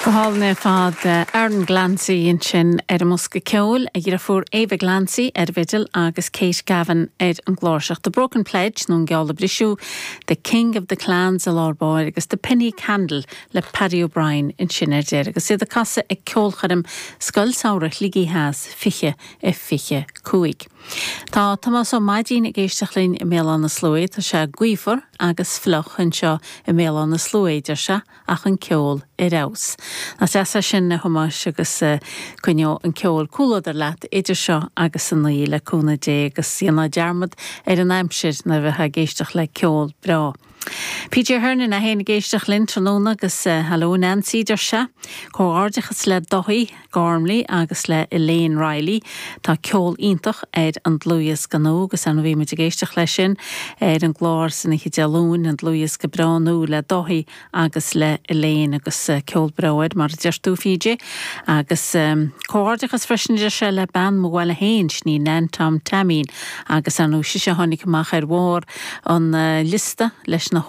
Go hálainn ar fad. Aaron Glancy ansin ar an mbosca ceoil, a dheirfiúr Ava Glancy ar an bhfidil agus Kate Gavin ar an gcláirseach. The Broken Pledge nó An Geall a Briseadh, The King of the Clans i lár báire agus The Penny Candle le Paddy O'Brien ansin ar deireadh agus iad ag casadh ag ceolchoirm Scoil Samhraidh Shligigh Theas 20 25. Tá Tomás Ó Maidín ag éisteacht linn i mBéal Átha na Sluaighe. Tá sé gaofar agus fliuch anseo i mBéal Átha na Sluaighe, deir sé. ach an ceol ar fheabhas. Nach deas é sin, a Thomáis, agus coinneoidh an ceol comhluadar leat idir seo agus an oíche, le cúnamh Dé, agus déanfá dearmad ar an aimsir nuair a bheifeá ag éisteacht le ceol breá. PJ Hernon é féin ag éisteacht linn tráthnóna agus Hello Nancy, deir sé. Comhghairdeachas le Dáithí Gormley agus le Elaine Reilly. Tá ceol iontach ar an dlúthdhiosca nua agus ar ndóigh bhí muid ag éisteacht leis sin ar an gclár san oíche Dé Luain, an dlúthdhiosca breá nua le Dáithí agus le Elaine agus ceol breá air mar a deir tú PJ. Agus comhghairdeachas freisin a deir sé le bean mo bhaile féin, sin í Nan Tom Taimín agus ar ndóigh sise a tháinig amach ar bharr an liosta leis na.